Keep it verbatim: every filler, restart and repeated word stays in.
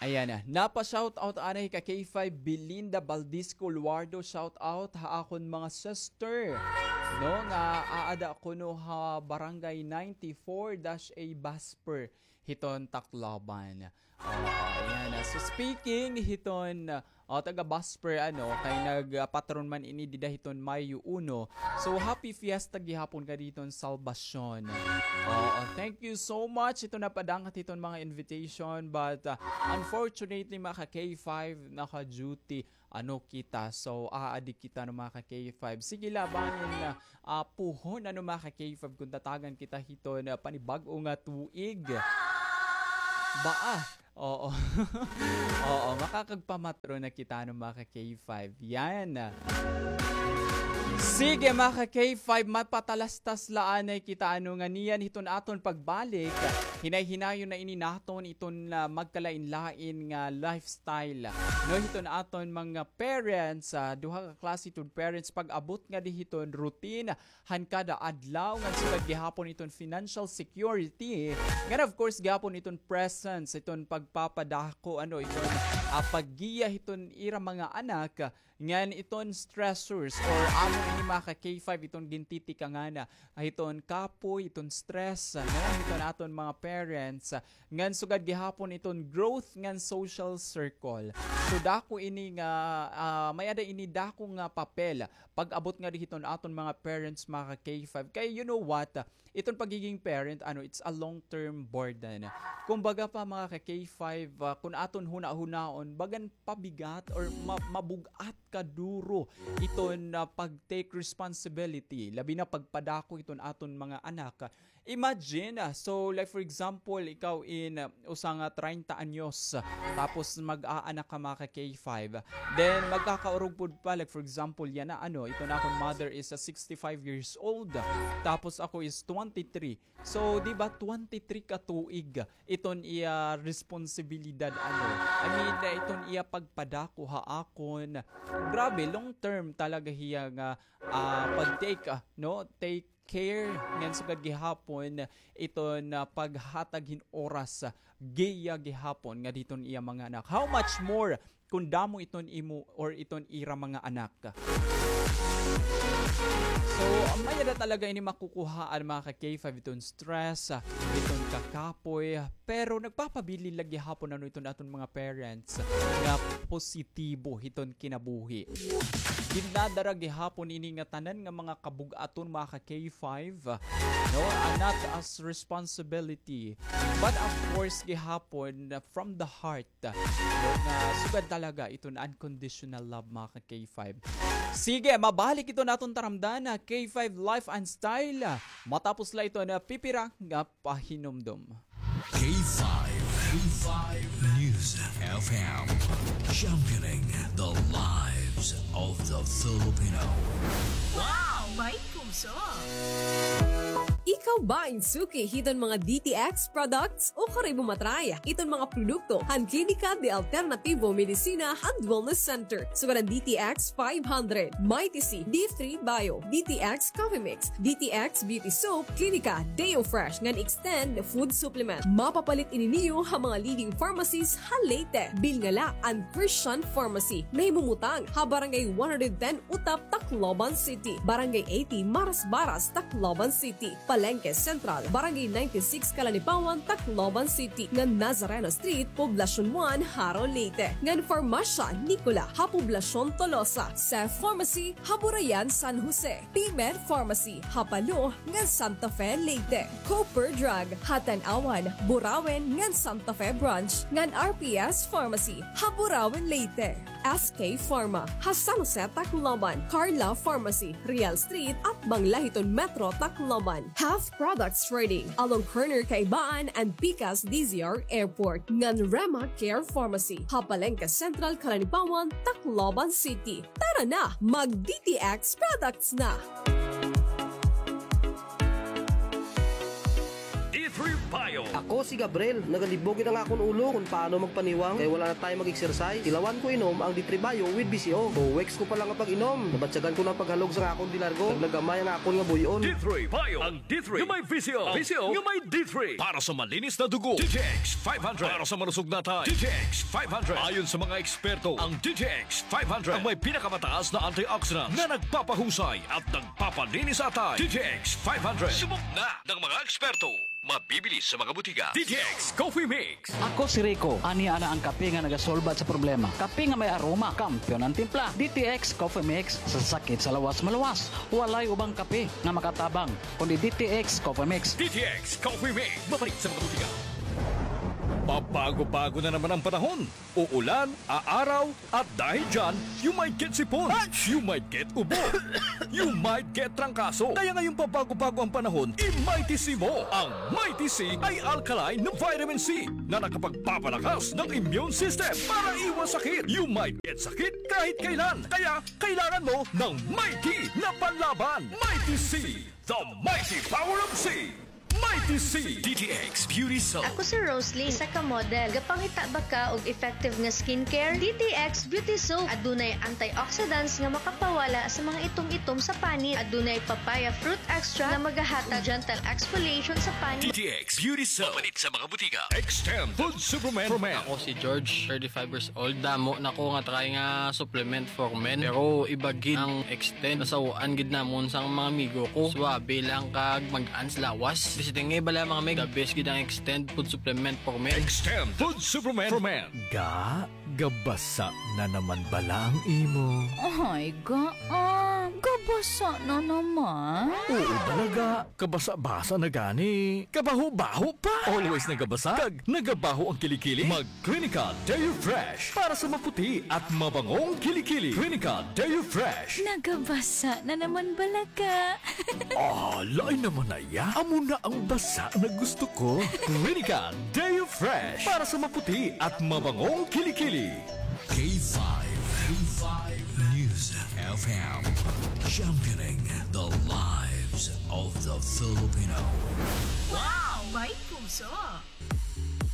Ayan na. Napa-shoutout anay ka K five Belinda Baldisco Luardo. Shoutout ha akon mga sister, no, nga aada kuno ha Barangay ninety-four dash A Basper hiton Tacloban. Oo, ayan na. So, speaking hiton, ah, taga Basper, ano, kay nagpatron man ini dida hiton Mayo uno. So, happy fiesta gihapon ngadi hiton Salvacion. Oo, thank you so much. Ito napadangat hiton mga invitation, but, ah, unfortunately, mga ka K five, naka-duty, ano, kita. So, aadi kita, no, mga ka K five. Sige la, bangin, ah, ah, puhon, ano, mga ka K five, kung tatagan kita hiton, ah, panibag-o nga tuig. Baa? Oo. Oo, makakagpamatron na kita, no, mga ka K five. Yan. Sige, mga ka K five, mapatalastas la anay kita, ano, nganiyan hiton aton pagbalik. Hinay-hinayon na ini naton iton, ah, magkalain-lain nga lifestyle, no, hiton aton mga parents, ah, duha ka klase hiton parents, pag-abot ngadi hiton routine han kada adlaw, ngan sugad gihapon iton financial security, ngan of course gihapon iton presence, iton pagpapadako, ano, iton, ah, paggiya hiton ira mga anak, ngan iton stressors or amo ini, mga ka K five, iton gintitikangan, ah, iton kapoy, iton stress, ano, iton aton mga parents, ngan sugad gihapon iton growth ngan social circle. So, dako ini nga, ah, may-ada ini dako nga papel pag-abot ngadi hiton aton mga parents, mga ka K five. Kay, you know what? Iton pagiging parent, ano, it's a long-term burden. Kumbaga pa, mga ka K five, ah, kun aton hunahunaon, bagan pabigat or ma-, mabug-at kaduro iton, ah, pag-take responsibility, labi na pagpadako iton aton mga anak. Imagine, ah, so, like, for example, ikaw in, ah, usa nga treinta anyos, tapos mag-aanak ka, mga ka K five. Then, magkakaurog pod pa, like, for example, yana, ano, iton akon mother is, ah, sixty-five years old, tapos ako is twenty-three. So, di ba, twenty-three ka tuig iton iya responsibilidad, ano, I mean, ah, iton iya pagpadako ha akon. Grabe, long term talaga hiya nga, ah, pag-take, ah, no, take care, ngan sugad gihapon iton, ah, paghatag hin oras, ah, giya gihapon ngadi hiton iya mga anak. How much more kun damo iton imo or iton ira mga anak? So, may-ada talaga ini makukuhaan, mga ka K five, iton stress, ah, iton kakapoy, pero nagpapabilin la gihapon, ano, iton aton mga parents nga positibo hiton kinabuhi. Gindadara gihapon ini nga tanan nga mga kabug-aton, mga ka K five, no, ah, not as responsibility, but of course gihapon, ah, from the heart, no, nga sugad talaga iton unconditional love, mga ka K five. Sige, mabalik iton aton taramdan, ah, K five Life and Style, ah, matapos la iton pipira nga pahinumdom. K five, K five News F M, championing the lives of the Filipino. Wow! May puso! Ikaw ba in suki hiton mga D T X products? O kari mo matry iton mga produkto han Klinika de Alternativo Medicina and Wellness Center? Sugad an D T X five hundred, Mighty C, D three Bio, D T X Coffee Mix, D T X Beauty Soap, Klinika, Deo Fresh, ngan Extend Food Supplement. Mapapalit ini niyo ha mga leading pharmacies ha Leyte. Bilnga la an Christian Pharmacy. Nahimumutang ha Barangay one hundred ten Utap, Tacloban City. Barangay eighty Marasbaras, Tacloban City. Palengke Central, Barangay ninety-six Calanipawan, Tacloban City, ngan Nazareno Street, Poblacion one, Jaro, Leyte, ngan Farmasya Nicola ha Poblacion Tolosa, Seth Pharmacy ha Burayan, San Jose, P-Med Pharmacy ha Palo ngan Santa Fe, Leyte, Cooper Drug ha Tanauan, Burauen ngan Santa Fe Branch, ngan R P S Pharmacy ha Burauen, Leyte. S K Pharma ha San Jose, Tacloban, Carla Pharmacy, Real Street, atbang la hiton Metro Tacloban, Health Products Trading, along corner Kaibaan and Pikas D Z R Airport, ngan Rema Care Pharmacy ha Palengke Central, Calanipawan, Tacloban City. Tara na, mag D T X products na! D three Bio. Ako si Gabriel, nagalibog gid an akon ulo kon paano magpaniwang kay wala na time mag-exercise. Tilawan ko inom ang D three Bio with B C O. Two weeks ko pa lang nga pag-inom, nabatyagan ko na an paghalog sa akon dilargo. Naglagamay ang akon nga buy-on. D three Bio, ang D three nga may V C O, ang V C O nga may D three. Para sa malinis na dugo, D T X five hundred. Para sa malusog na atay, D T X five hundred. Ayon sa mga eksperto, ang D T X five hundred ang may pinakamataas na antioxidants na nagpapahusay at nagpapalinis sa atay. D T X five hundred. Subok na ng mga eksperto. Mabibili sa mga botika. D T X Coffee Mix. Ako si Rico. Ania na ang kape nga nagasolbat sa problema. Kape nga may aroma, kampiyon an timpla. D T X Coffee Mix, sa sakit sa lawas maluwas. Walay ubang kape nga makatabang kundi D T X Coffee Mix. D T X Coffee Mix, mabalik sa mga botika. Pabago-bago na naman ang panahon. Uulan, aaraw, at dahil dyan, you might get sipon, you might get ubo, you might get trangkaso. Kaya ngayong pabago-bago ang panahon, i-Mighty C mo. Ang Mighty C ay alkaline na vitamin C na nakapagpapalakas ng immune system para iwas sakit. You might get sakit kahit kailan. Kaya kailangan mo ng Mighty na panlaban. Mighty C, the mighty power of C. Mighty C. D T X Beauty Soap. Ako si Rosalie, isa ka model. Gapangita ba ka og effective nga skincare? D T X Beauty Soap. Adunay antioxidants nga makapawala sa mga itom-itom sa panit. Adunay papaya fruit extract nga magahatag gentle exfoliation sa panit. D T X Beauty Soap. Mapalit sa mga botika. Extend Food Supplement for Men. Ako si George, thirty-five years old. Damo na ko nga try nga supplement for men. Pero iba gid ang extend. Nasaw-an gid namon sang mga amigo ko. Suwabe lang kag mag-ans lawas. Basta nga bala mga mig, the best gid ang extend food supplement for men. Extend Food Supplement for Men. Ga, gabasa na naman bala ang imo? Ay, ga, ah, gabasa na naman? Oo bala, ga. Kabasa-basa na gani. Kabaho-baho pa. Always nagabasa. Kag nagabaho ang kilikili. Mag Clinical Deo Fresh para sa maputi at mabangong kilikili. Clinical Deo Fresh. Nagabasa na naman bala ka. Ah, lain naman na iya. Amo na ang basa na gusto ko. Clinical Deo Fresh para sa maputi at mabangong kilikili. K five, K five News F M, championing the lives of the Filipino. Wow! May puso!